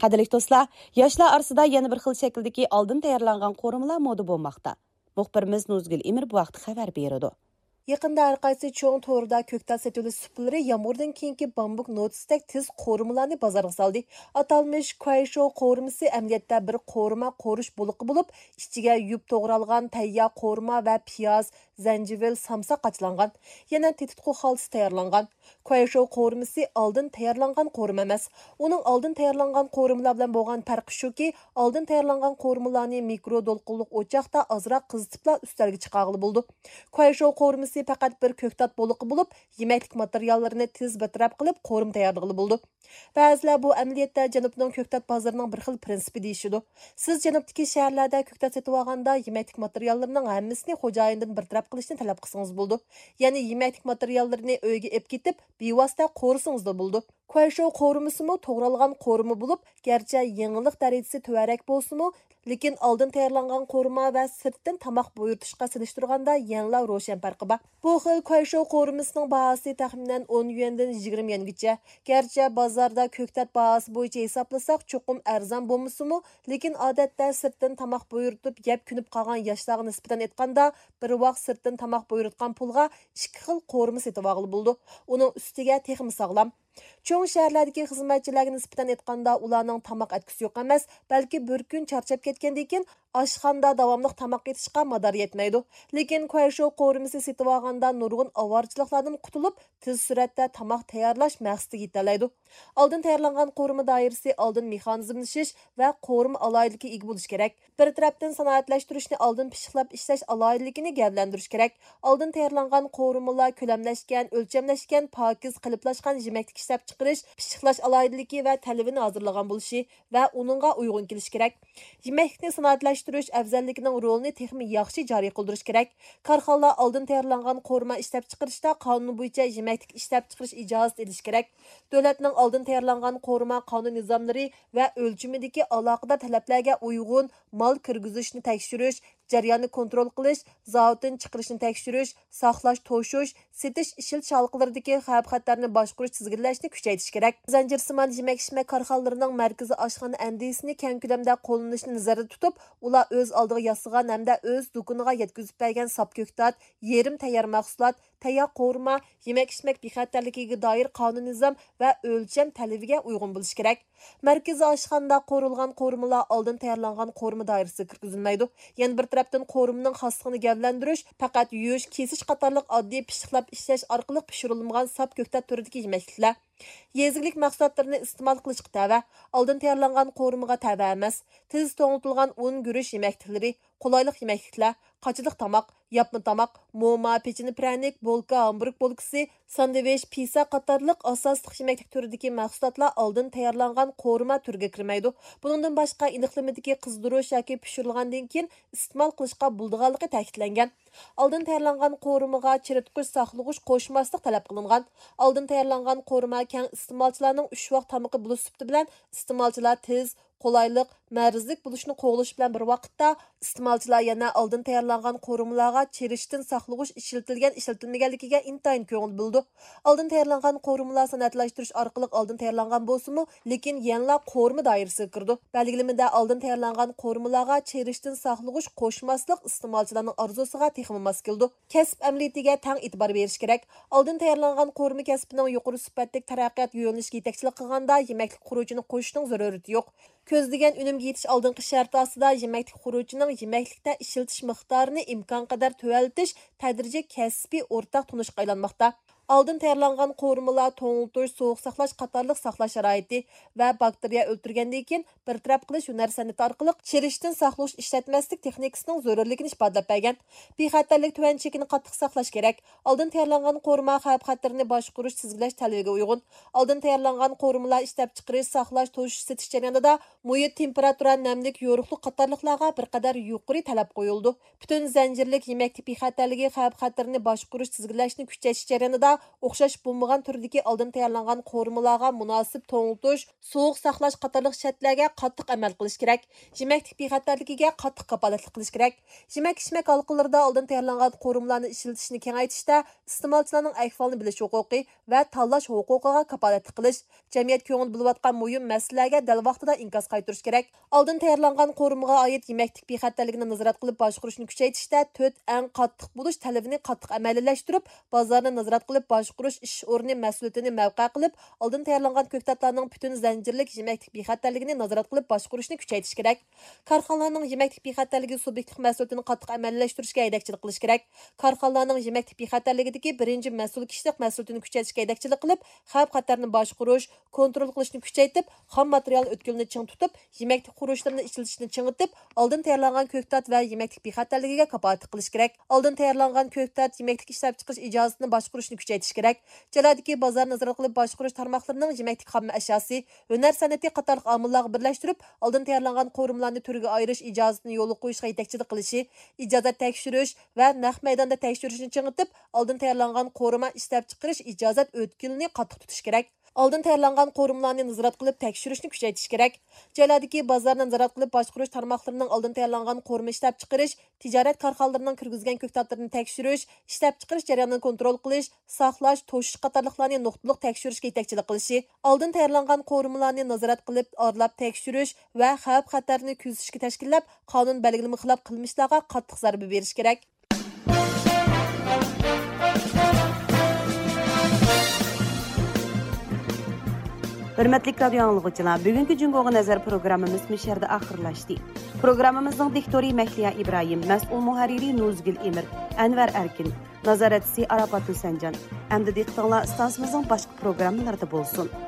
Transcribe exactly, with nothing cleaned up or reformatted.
قەدىرلىك دوستلار، ياشلار ئارىسىدا يەنە بىر خىل شەكىلدىكى ئالدىن تەييارلانغان قورۇمىلار مودا بولماقتا. مۇخبىرىمىز نۇزگۈل ئىمىر بۇ ھەقتە خەۋەر بېرىدۇ. يېقىندا ھەر قايسى چوڭ توردا كۆكتات سېتىۋېلىش سۇپىلىرى يامغۇردىن كېيىنكى بامبۇك نوتىسىدەك تېز قورۇمىلارنى بازارغا سالدى. ئاتالمىش كۇەيشوۋ قورۇمىسى ئەمەلىيەتتە بىر قورۇما قورۇش بولىقى بولۇپ، ئىچىگە يۇيۇپ توغرالغان تەييار قورۇما ۋە پىياز، زەنجىۋىل، سامساق قاچىلانغان، يەنە تېتىتقۇ خالتىسى تەييارلانغان. كۇەيشوۋ قورۇمىسى ئالدىن تەييارلانغان قورۇما ئەمەس. ئۇنىڭ ئالدىن تەييارلانغان قورۇمىلار بىلەن بولغان پەرقى شۇكى، ئالدىن تەييارلانغان قورۇمىلارنى مىكرو دولقۇنلۇق ئوچاقتا ئازراق قىزىتىپلا ئۈستەلگە چىقارغىلى بولىدۇ. كۇەيشوۋ قورۇمىسى پەقەت بىر كۆكتات بولىقى بولۇپ، يېمەكلىك ماتېرىياللىرىنى تېز بىر تەرەپ قىلىپ، قورۇما تەييارلىغىلى بولىدۇ. بەزىلەر بۇ ئەمەلىيەتتە جەنۇبنىڭ كۆكتات بازىرىنىڭ بىر خىل پىرىنسىپى دېيىشىدۇ. سىز جەنۇبتىكى شەھەرلەردە كۆكتات سېتىۋالغاندا، يېمەكلىك ماتېرىياللىرىنىڭ ھەممىسىنى خوجايىندىن بىر تەرەپ قىلىشنى تەلەپ قىلسىڭىز بولىدۇ. يەنى يېمەكلىك ماتېرىياللىرىنى ئۆيگە ئېلىپ كېتىپ، بىۋاسىتە قورۇسىڭىزلا بولىدۇ. كۇەيشوۋ قورۇمىسىمۇ توغرالغان قورۇما بولۇپ، گەرچە يېڭىلىق دەرىجىسى تۆۋەنرەك بولسىمۇ، لېكىن ئالدىن تەييارلانغان قورۇما ۋە سىرتتىن تاماق بۇيرۇتۇشقا سېلىشتۇرغاندا يەنىلا روشەن پەرقى بار. بۇ خىل كۇەيشوۋ قورۇمىسىنىڭ باھاسى تەخمىنەن ئون يۈەندىن يىگىرمە يۈەنگىچە. گەرچە بازاردا كۆكتات باھاسى بويىچە ھېسابلىساق چوقۇم ئەرزان بولمىسىمۇ، لېكىن ئادەتتە سىرتتىن تاماق بۇيرۇتۇپ يەپ كۆنۈپ قالغان ياشلارغا نىسبەتەن ئېيتقاندا، بىر ۋاق سىرتتىن تاماق بۇيرۇتقان پۇلغا ئىككى خىل قورۇما سېتىۋالغىلى بولىدۇ. ئۇنىڭ ئۈستىگە تېخىمۇ ساغلام. چوڭ شەھەرلەردىكى خىزمەتچىلەرگە نىسبەتەن ئېيتقاندا، ئۇلارنىڭ تاماق ئەتكۈسى يوق ئەمەس، بەلكى بىر كۈن چارچاپ كەتكەندىن كېيىن ئاشخانىدا داۋاملىق تاماق ئېتىشقا مادار يەتمەيدۇ. لېكىن كۇەيشوۋ قورۇمىسى سېتىۋالغاندا نۇرغۇن ئاۋارىچىلىقلاردىن قۇتۇلۇپ، تېز سۈرئەتتە تاماق تەييارلاش مەقسىتىگە يېتەلەيدۇ. ئالدىن تەييارلانغان قورۇما دائىرىسى ئالدىن مېخانىزملىشىش ۋە قورۇما ئالاھىدىلىكىگە ئىگە بولۇشى كېرەك. بىر تەرەپتىن سانائەتلەشتۈرۈشنى ئالدىن پىششىقلاپ ئىشلەش ئالاھىدىلىكىنى گەۋدىلەندۈرۈش كېرەك. ئالدىن تەييارلانغان قورۇمىلار كۆلەملەشكەن، ئۆلچەملەشكەن، پاكىز قېلىپلاشقان يېمەكلىك ئىشلەپچىقىرىش، پىششىقلاش ئالاھىدىلىكى ۋە تەلۋىنى ھازىرلىغان بولۇشى ۋە ئۇنىڭغا ئۇيغۇن كېلىشى كېرەك. يېمەكلىكنى سانائەتلەشتۈرۈش ئەۋزەللىكىنىڭ رولىنى تېخىمۇ ياخشى جارى قىلدۇرۇش كېرەك. كارخانىلار ئالدىن تەييارلانغان قورۇما ئىشلەپچىقىرىشتا قانۇن بويىچە يېمەكلىك ئىشلەپچىقىرىش ئىجازىتى ئېلىشى كېرەك. دۆلەتنىڭ ئالدىن تەييارلانغان قورۇما قانۇن نىزاملىرى ۋە ئۆلچىمىدىكى ئالاقىدار تەلەپلەرگە ئۇيغۇن مال كىرگۈزۈشنى تەكشۈرۈش، جەرياننى كونترول قىلىش، زاۋۇتتىن چىقىرىشنى تەكشۈرۈش، ساقلاش، توشۇش، سېتىش، ئىشلىتىش ھالقىلىرىدىكى خەۋپ-خەتەرنى باشقۇرۇش، تىزگىنلەشنى كۈچەيتىش كېرەك. زەنجىرسىمان يېمەك-ئىچمەك كارخانىلىرىنىڭ مەركىزىي ئاشخانا ئەندىزىسىنى كەڭ كۆلەمدە قوللىنىشنى نەزەردە تۇتۇپ، ئۇلار ئۆز ئالدىغا ياسىغان ھەمدە ئۆز دۇكىنىغا يەتكۈزۈپ بەرگەن ساپ كۆكتات، يېرىم تەييار مەھسۇلات، تەييار قورۇما، يېمەك-ئىچمەك بىخەتەرلىكىگە دائىر قانۇن-نىزام ۋە ئۆلچەم تەلىپىگە ئۇيغۇن بولۇشى كېرەك. مەركىزىي ئاشخانىدا قورۇلغان قورۇمىلار ئالدىن تەييارلانغان قورۇما دائىرىسىگە كىرگۈزۈلمەيدۇ. يەنە بىر تەرەپتىن، قورۇمىنىڭ خاسلىقىنى گەۋدىلەندۈرۈش پەقەت يۇيۇش، كېسىش قاتارلىق ئاددىي پىششىقلاپ ئىشلەش ئارقىلىق پىشۇرۇلمىغان ساپ كۆكتات تۈرىدىكى يېمەكلىكلەر. يېزا ئىگىلىك مەھسۇلاتلىرىنى ئىستېمال قىلىشقا تەۋە. ئالدىن تەييارلانغان قورۇمىغا تەۋە ئەمەس، تېز توڭلىتىلغان ئۇن، گۈرۈچ يېمەكلىكلىرى، قولايلىق يېمەكلىكلەر، قاچىلىق تاماق، ياپما تاماق، موما، پېچىنە پىرەنىك، بولكا، ھامبۇرگ بولكىسى، ساندۋىچ، پىسا قاتارلىق ئاساسلىق يېمەكلىك تۈرىدىكى مەھسۇلاتلار ئالدىن تەييارلانغان قورۇما تۈرىگە كىرمەيدۇ. بۇنىڭدىن باشقا، ئېنىقلىمىدىكى قىزدۇرۇش ياكى پىشۇرۇلغاندىن كېيىن ئىستېمال قىلىشقا بولىدىغانلىقى تەكىتلەنگەن. ئالدىن تەييارلانغان قورۇمىغا چىرىتقۇچ، ساقلىغۇچ قوشماسلىق تەلەپ قىلىنغان. ئالدىن تەييارلانغان قورۇما كەڭ ئىستېمالچىلارنىڭ ئۈچ ۋاق تامىقى بولۇش سۈپىتى بىلەن ئىستېمالچىلار تېز، قولايلىق، مەرزلىك بولۇشنى قوغلىشى بىلەن بىر ۋاقىتتا، ئىستېمالچىلار يەنە ئالدىن تەييارلانغان قورۇمىلارغا چىرىشتىن ساقلىغۇچ ئىشلىتىلگەن، ئىشلىتىلمىگەنلىكىگە ئىنتايىن كۆڭۈل بۆلىدۇ. ئالدىن تەييارلانغان قورۇمىلار سانائەتلەشتۈرۈش ئارقىلىق ئالدىن تەييارلانغان بولسىمۇ، لېكىن يەنىلا قورۇما دائىرىسىگە كىرىدۇ. بەلگىلىمىدە ئالدىن تەييارلانغان قورۇمىلارغا چىرىشتىن ساقلىغۇچ قوشماسلىق ئىستېمالچىلارنىڭ ئارزۇسىغا تېخىمۇ ماس كېلىدۇ. كەسىپ ئەمەلىيىتىگە تەڭ ئېتىبار بېرىش كېرەك. ئالدىن تەييارلانغان قورۇما كەسپىنىڭ يۇقىرى سۈپەتلىك تەرەققىيات يۆنىلىشىگە يېتەكچىلىك قىلغاندا، يېمەكلىك خۇرۇچىنى قوشۇشنىڭ زۆرۈرىيىتى يوق. كۆزلىگەن ئۈنۈمگە يېتىش ئالدىنقى شەرتى ئاستىدا، يېمەكلىك خۇرۇچىنىڭ يېمەكلىكتە ئىشلىتىش مىقدارىنى ئىمكانقەدەر تۆۋەنلىتىش تەدرىجىي كەسپىي ئورتاق تونۇشقا ئايلانماقتا. ئالدىن تەييارلانغان قورۇمىلار توڭلىتىش، سوغۇق ساقلاش قاتارلىق ساقلاش شارائىتى ۋە باكتېرىيە ئۆلتۈرگەندىن كېيىن بىر تەرەپ قىلىش ھۈنەر سەنئىتى ئارقىلىق چىرىشتىن ساقلىغۇچ ئىشلەتمەسلىك تېخنىكىسىنىڭ زۆرۈرلۈكىنى ئىپادىلەپ بەرگەن. بىخەتەرلىك تۆۋەن چېكىنى قاتتىق ساقلاش كېرەك. ئالدىن تەييارلانغان قورۇما خەۋپ-خەتىرىنى باشقۇرۇش، تىزگىنلەش تەلىپىگە ئۇيغۇن. ئالدىن تەييارلانغان قورۇمىلار ئىشلەپچىقىرىش، ساقلاش، توشۇش، سېتىش جەريانىدا مۇھىت، تېمپېراتۇرا، نەملىك، يورۇقلۇق قاتارلىقلارغا بىر قەدەر يۇقىرى تەلەپ قويۇلىدۇ. پۈتۈن زەنجىرلىك يېمەكلىك بىخەتەرلىكى خەۋپ-خەتىرىنى باشقۇرۇش، تىزگىنلەشنى كۈچەيتىش جەريانىدا ئوخشاش بولمىغان تۈردىكى ئالدىن تەييارلانغان قورۇمىلارغا مۇناسىپ توڭلىتىش، سوغۇق ساقلاش قاتارلىق شەرتلەرگە قاتتىق ئەمەل قىلىش كېرەك. يېمەكلىك بىخەتەرلىكىگە قاتتىق كاپالەتلىك قىلىش كېرەك. يېمەك-ئىچمەك ھالقىلىرىدا ئالدىن تەييارلانغان قورۇمىلارنى ئىشلىتىشنى كېڭەيتىشتە ئىستېمالچىلارنىڭ ئەھۋالىنى بىلىش ھوقۇقى ۋە تاللاش ھوقۇقىغا كاپالەتلىك قىلىش، جەمئىيەت كۆڭۈل بۆلۈۋاتقان مۇھىم مەسىلىلەرگە دەل ۋاقتىدا ئىنكاس قايتۇرۇش كېرەك. ئالدىن تەييارلانغان قورۇمىغا ئائىت يېمەكلىك بىخەتەرلىكىنى نازارەت قىلىپ باشقۇرۇشنى كۈچەيتىشتە تۆت ئەڭ قاتتىق بولۇش تەلىپىنى قاتتىق ئەمەلىيلەشتۈرۈپ، بازارنى نازارەت قىلىپ باشقۇرۇش ئىش ئورنى مەسئۇلىيىتىنى مەۋقە قىلىپ، ئالدىن تەييارلانغان كۆكتاتلارنىڭ پۈتۈن زەنجىرلىك يېمەكلىك بىخەتەرلىكىنى نازارەت قىلىپ باشقۇرۇشنى كۈچەيتىش كېرەك. كارخانىلارنىڭ يېمەكلىك بىخەتەرلىكى سۇبيېكتلىق مەسئۇلىيىتىنى قاتتىق ئەمەلىيلەشتۈرۈشكە ھەيدەكچىلىك قىلىش كېرەك. كارخانىلارنىڭ يېمەكلىك بىخەتەرلىكىدىكى بىرىنچى مەسئۇل كىشىلىك مەسئۇلىيىتىنى كۈچەيتىشكە ھەيدەكچىلىك قىلىپ، خەۋپ-خەتەرنى باشقۇرۇش، كونترول قىلىشنى كۈچەيتىپ، خام ماتېرىيال ئۆتكىلىنى چىڭ تۇتۇپ، يېمەكلىك خۇرۇچلىرىنى ئىشلىتىشنى چىڭىتىپ، ئالدىن تەييارلانغان كۆكتات ۋە يېمەكلىك بىخەتەرلىكىگە كاپالەتلىك قىلىش كېرەك. ئالدىن تەييارلانغان كۆكتات يېمەكلىك ئىشلەپچىقىرىش ئىجازىتىنى باشقۇرۇشنى كۈچەيتىش كېرەك. جايلاردىكى بازار نازارەت قىلىپ باشقۇرۇش تارماقلىرىنىڭ يېمەكلىك خام ئەشياسى، ھۈنەر سەنئىتى قاتارلىق ئامىللارغا بىرلەشتۈرۈپ، ئالدىن تەييارلانغان قورۇمىلارنى تۈرگە ئايرىش ئىجازىتىنى يولغا قويۇشقا يېتەكچىلىك قىلىشى، ئىجازەت تەكشۈرۈش ۋە نەق مەيداندا تەكشۈرۈشنى چىڭىتىپ، ئالدىن تەييارلانغان قورۇما ئىشلەپچىقىرىش ئىجازەت ئۆتكىلىنى قاتتىق تۇتۇش كېرەك. ئالدىن تەييارلانغان قورۇمىلارنى نازارەت قىلىپ تەكشۈرۈشنى كۈچەيتىش كېرەك. جايلاردىكى بازارنى نازارەت قىلىپ باشقۇرۇش تارماقلىرىنىڭ ئالدىن تەييارلانغان قورۇما ئىشلەپچىقىرىش، تىجارەت كارخانىلىرىنىڭ كىرگۈزگەن كۆكتاتلىرىنى تەكشۈرۈش، ئىشلەپچىقىرىش جەريانىنى كونترول قىلىش، ساقلاش، توشۇش قاتارلىقلارنى نۇقتىلىق تەكشۈرۈشكە يېتەكچىلىك قىلىشى، ئالدىن تەييارلانغان قورۇمىلارنى نازارەت قىلىپ، ئارىلاپ تەكشۈرۈش ۋە خەۋپ-خەتەرنى كۆزىتىشكە تەشكىللەپ، قانۇن بەلگىلىمە خىلاپ قىلمىشلارغا قاتتىق زەربە بېرىش كېرەك. ھۆرمەتلىك رادىيو ئاڭلىغۇچىلار، بۈگۈنكى جۇڭگوغا نەزەر پروگراممىمىز مۇشۇ يەردە ئاخىرلاشتى. پروگراممىمىزنىڭ دىكتورى مەھلىيا ئىبراھىم، مەسئۇل مۇھەررىرى نۇزگۈل ئىمىر، ئەنۋەر ئەركىن، نازارەتچىسى ئاراپات ھۈسەنجان. ئەمدى دىققىتىڭلار ئىستانسىمىزنىڭ باشقا پروگراممىلىرىدا بولسۇن.